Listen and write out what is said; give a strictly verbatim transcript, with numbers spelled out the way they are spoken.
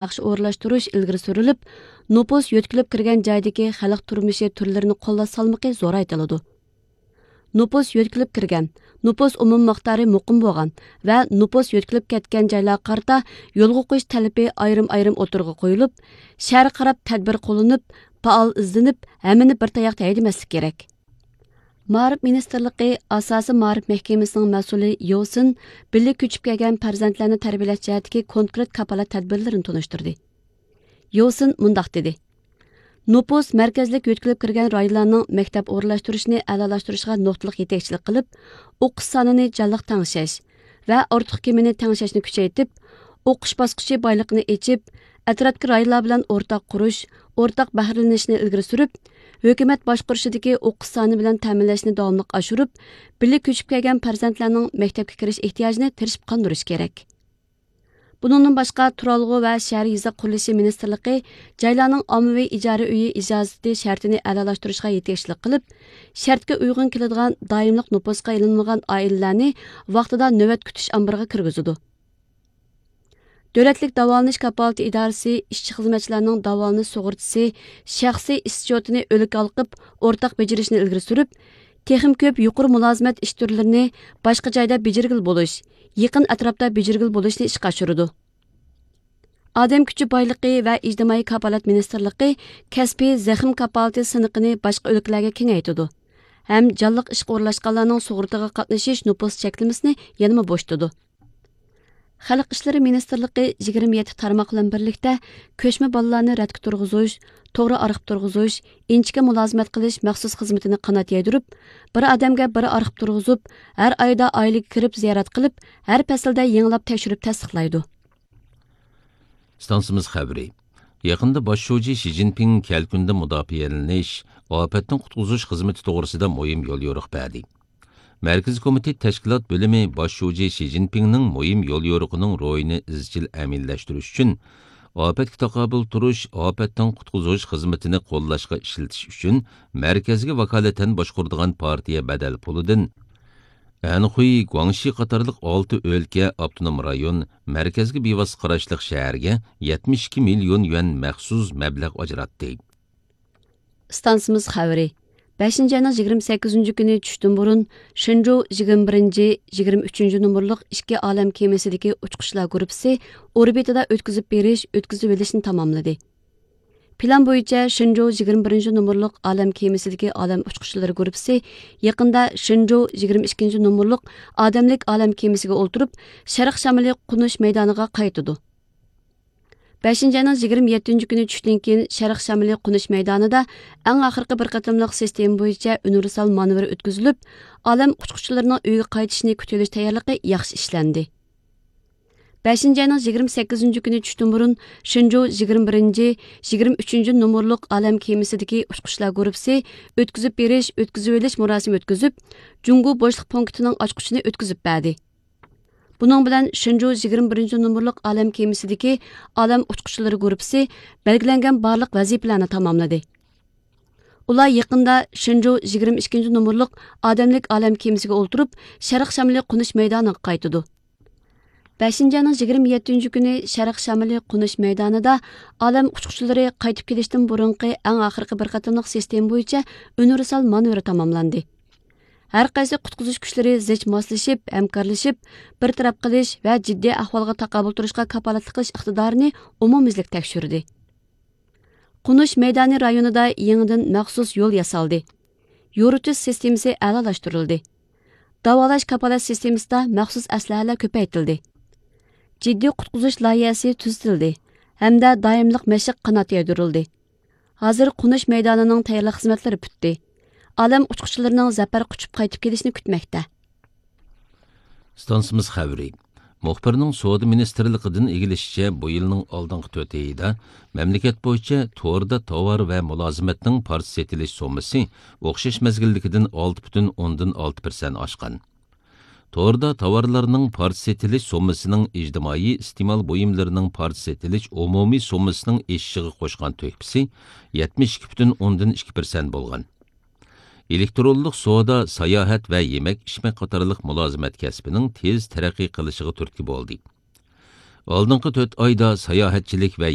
ياخشى ئورۇنلاشتۇرۇش ئىلگىرى سۈرۈلۈپ، نوپۇس يۆتكىلىپ كىرگەن جايدىكى خەلق تۇرمۇشى تۈرلىرىنى قوللاش سالمىقى زورايتىلىدۇ. نوپۇس يۆتكىلىپ كىرگەن، نوپۇس ئومۇمىي مىقدارى مۇقىم بولغان ۋە نوپۇس يۆتكىلىپ كەتكەن جايلارغا قارىتا يولغا قويۇش تەلىپى ئايرىم-ئايرىم ئوتتۇرىغا قويۇلۇپ، شەھەرگە قاراپ تەدبىر قوللىنىپ، پائال ئىزدىنىپ، ھەممىنى بىر تاياقتا ھەيدىمەسلىك كېرەك. مائارىپ مىنىستىرلىقى ئاساسىي مائارىپ مەھكىمىسىنىڭ مەسئۇلى يوسىن بىللە كۆچۈپ كەلگەن پەرزەنتلەرنى تەربىيەلەش جەھەتتىكى كونكرېت كاپالەت تەدبىرلىرىنى تونۇشتۇردى. يوسىن مۇنداق دېدى: نوپۇس مەركەزلىك يۆتكىلىپ كىرگەن رايونلارنىڭ مەكتەپ ئورۇنلاشتۇرۇشىنى ئەلالاشتۇرۇشىغا نۇقتىلىق يېتەكچىلىك قىلىپ، ئوقۇش سانىنى جانلىق تەڭشەش ۋە ئارتۇق كېمىنى تەڭشەشنى كۈچەيتىپ، ئوقۇش باسقۇچى بايلىقىنى ئېچىپ، ئەتراپتىكى رايونلار بىلەن ئورتاق قۇرۇش، ئورتاق بەھرىلىنىشنى ئىلگىرى سۈرۈپ، ھۆكۈمەت باشقۇرۇشىدىكى ئوقۇش سانى بىلەن تەمىنلەشنى داۋاملىق ئاشۇرۇپ، بىللە كۆچۈپ كەلگەن پەرزەنتلەرنىڭ مەكتەپكە كىرىش ئېھتىياجىنى تىرىشىپ قاندۇرۇش كېرەك. بۇنىڭدىن باشقا، تۇرالغۇ ۋە شەھەر يېزا قۇرۇلۇشى مىنىستىرلىقى جايلارنىڭ ئاممىۋى ئىجارە ئۆيى ئىجازىتى شەرتىنى ئەلالاشتۇرۇشقا يېتەكچىلىك قىلىپ، شەرتكە ئۇيغۇن كېلىدىغان دائىملىق نوپۇسقا ئېلىنمىغان ئائىلىلەرنى ۋاقتىدا نۆۋەت كۈتۈش ئامبىرىغا كىرگۈزىدۇ. دۆلەتلىك داۋالىنىش كاپالىتى ئىدارىسى ئىشچى-خىزمەتچىلەرنىڭ داۋالىنىش سۇغۇرتىسى شەخسىي ئىس-چوتىنى ئۈلگە ئالقىپ ئورتاق بېجىرىشنى ئىلگىرى سۈرۈپ، تېخىمۇ كۆپ يۇقىرى مۇلازىمەت ئىش تۈرلىرىنى باشقا جايدا بېجىرگىلى بولۇش، يېقىن ئەتراپتا بېجىرگىلى بولۇشنى ئىشقا ئاشۇرىدۇ. ئادەم كۈچى بايلىقى ۋە ئىجتىمائىي كاپالەت مىنىستىرلىقى كەسپىي زەخىم كاپالىتى سىنىقىنى باشقا ئۆلكىلەرگە كېڭەيتىدۇ ھەم جانلىق ئىشقا ئورۇنلاشقانلارنىڭ سۇغۇرتىغا قاتنىشىش نوپۇس چەكلىمىسىنى يەنىمۇ بوشىتىدۇ. خەلق ئىشلىرى مىنىستىرلىقى يىگىرمە يەتتە تارماق بىلەن بىرلىكتە كۆچمە بالىلارنى رەتكە تۇرغۇزۇش، توغرا ئارخىپ تۇرغۇزۇش، ئىنچىكە مۇلازىمەت قىلىش مەخسۇس خىزمىتىنى قانات يايدۇرۇپ، بىر ئادەمگە بىر ئارخىپ تۇرغۇزۇپ، ھەر ئايدا ئائىلىگە كىرىپ زىيارەت قىلىپ، ھەر پەسىلدە يېڭىلاپ تەكشۈرۈپ تەستىقلايدۇ. ئىستانسىمىز خەۋىرى. يېقىندا باش شۇجى شى جىنپىڭ كەلكۈندىن مۇداپىئەلىنىش، ئاپەتتىن قۇتقۇزۇش خىزمىتى توغرىسىدا مۇھىم يوليورۇق بەردى. مەركىزىي كومىتېت تەشكىلات بۆلۈمى باش شۇجى شى جىنپىڭنىڭ مۇھىم يوليورۇقىنىڭ روھىنى ئىزچىل ئەمەلىيلەشتۈرۈش ئۈچۈن، ئاپەتكە تاقابىل تۇرۇش، ئاپەتتىن قۇتقۇزۇش خىزمىتىنى قوللاشقا ئىشلىتىش ئۈچۈن مەركەزگە ۋاكالىتەن باشقۇرىدىغان پارتىيە بەدەل پۇلىدىن ئەنخۇي، گۇاڭشى قاتارلىق ئالتە ئۆلكە، ئاپتونوم رايون، مەركەزگە بىۋاسىتە قاراشلىق شەھەرگە يەتمىش ئىككى مىليون يۈەن مەخسۇس مەبلەغ ئاجراتتى. ئىستانسىمىز خەۋىرى. بەشىنچى ئاينىڭ يىگىرمە سەككىزىنچى كۈنى چۈشتىن بۇرۇن شېنجۇ يىگىرمە بىرىنچى، يىگىرمە ئۈچىنچى نومۇرلۇق ئىككى ئالەم كېمىسىدىكى ئۇچقۇچىلار گۇرۇپپىسى ئوربىتىدا ئۆتكۈزۈپ بېرىش، ئۆتكۈزۈۋېلىشنى تاماملىدى. پىلان بويىچە شېنجۇ يىگىرمە بىرىنچى نومۇرلۇق ئالەم كېمىسىدىكى ئالەم ئۇچقۇچىلىرى گۇرۇپپىسى يېقىندا شېنجۇ يىگىرمە ئىككىنچى نومۇرلۇق ئادەملىك ئالەم كېمىسىگە ئولتۇرۇپ، شەرق شامىلى قونۇش مەيدانىغا قايتىدۇ. بەشىنچى ئاينىڭ يىگىرمە يەتتىنچى كۈنى چۈشتىن كېيىن شەرق شامىلى قونۇش مەيدانىدا ئەڭ ئاخىرقى بىر قېتىملىق سىستېما بويىچە ئۇنىۋېرسال مانېۋىر ئۆتكۈزۈلۈپ، ئالەم ئۇچقۇچىلىرىنىڭ ئۆيىگە قايتىشىنى كۈتۈۋېلىش تەييارلىقى ياخشى ئىشلەندى. بەشىنچى ئاينىڭ يىگىرمە سەككىزىنچى كۈنى چۈشتىن بۇرۇن شېنجۇ يىگىرمە بىرىنچى، يىگىرمە ئۈچىنچى نومۇرلۇق ئالەم كېمىسىدىكى ئۇچقۇچىلار گۇرۇپپىسى ئۆتكۈزۈپ بېرىش، ئۆتكۈزۈۋېلىش مۇراسىمى ئۆتكۈزۈپ، جۇڭگو بوشلۇق پونكىتىنىڭ ئاچقۇچىنى ئۆتكۈزۈپ بەردى. بۇنىڭ بىلەن شېنجۇ يىگىرمە بىرىنچى نومۇرلۇق ئالەم كېمىسىدىكى ئالەم ئۇچقۇچىلىرى گۇرۇپپىسى بەلگىلەنگەن بارلىق ۋەزىپىلەرنى تاماملىدى. ئۇلار يېقىندا شېنجۇ يىگىرمە ئىككىنچى نومۇرلۇق ئادەملىك ئالەم كېمىسىگە ئولتۇرۇپ، شەرق شامىلى قونۇش مەيدانىغا قايتىدۇ. بەشىنچى ئاينىڭ يىگىرمە يەتتىنچى كۈنى شەرق شامىلى قونۇش مەيدانىدا ئالەم ئۇچقۇچىلىرى قايتىپ كېلىشتىن بۇرۇنقى ئەڭ ئاخىرقى بىر قېتىملىق سىستېما بويىچە ئۇنىۋېرسال مانېۋىرى تاماملاندى. ھەر قايسى قۇتقۇزۇش كۈچلىرى زىچ ماسلىشىپ، ھەمكارلىشىپ، بىر تەرەپ قىلىش ۋە جىددىي ئەھۋالغا تاقابىل تۇرۇشقا كاپالەتلىك قىلىش ئىقتىدارىنى ئومۇميۈزلۈك تەكشۈردى. قونۇش مەيدانى رايونىدا يېڭىدىن مەخسۇس يول ياسالدى. يورۇتۇش سىستېمىسى ئەلالاشتۇرۇلدى. داۋالاش كاپالەت سىستېمىسىدا مەخسۇس ئەسلىھەلەر كۆپەيتىلدى. جىددىي قۇتقۇزۇش لايىھەسى تۈزىتىلدى ھەمدە دائىملىق مەشىق قانات يايدۇرۇلدى. ھازىر قونۇش مەيدانىنىڭ تەييارلىق خىزمەتلىرى پۈتتى. ئالەم ئۇچقۇچىلىرىنىڭ زەپەر قۇچۇپ قايتىپ كېلىشىنى كۈتمەكتە. ئىستانسىمىز خەۋىرى. مۇخبىرنىڭ سودا مىنىستىرلىقىدىن ئىگىلىشىچە، بۇ يىلنىڭ ئالدىنقى تۆت ئېيىدا مەملىكەت بويىچە توردا تاۋار ۋە مۇلازىمەتنىڭ پارچە سېتىلىش سوممىسى ئوخشاش مەزگىلدىكىدىن ئالتە پۈتۈن ئوندىن ئالتە پىرسەنت ئاشقان. توردا تاۋارلارنىڭ پارچە سېتىلىش سوممىسىنىڭ ئىجتىمائىي ئىستېمال بۇيۇملىرىنىڭ پارچە سېتىلىش ئومۇمىي سوممىسىنىڭ ئېشىشىغا قوشقان تۆھپىسى يەتمىش ئىككى پۈتۈن ئوندىن ئىككى پىرسەنت بولغان. ئېلېكترونلۇق سودا، ساياھەت ۋە يېمەك-ئىچمەك قاتارلىق مۇلازىمەت كەسپىنىڭ تېز تەرەققىي قىلىشىغا تۈرتكە بولدى. ئالدىنقى تۆت ئايدا ساياھەتچىلىك ۋە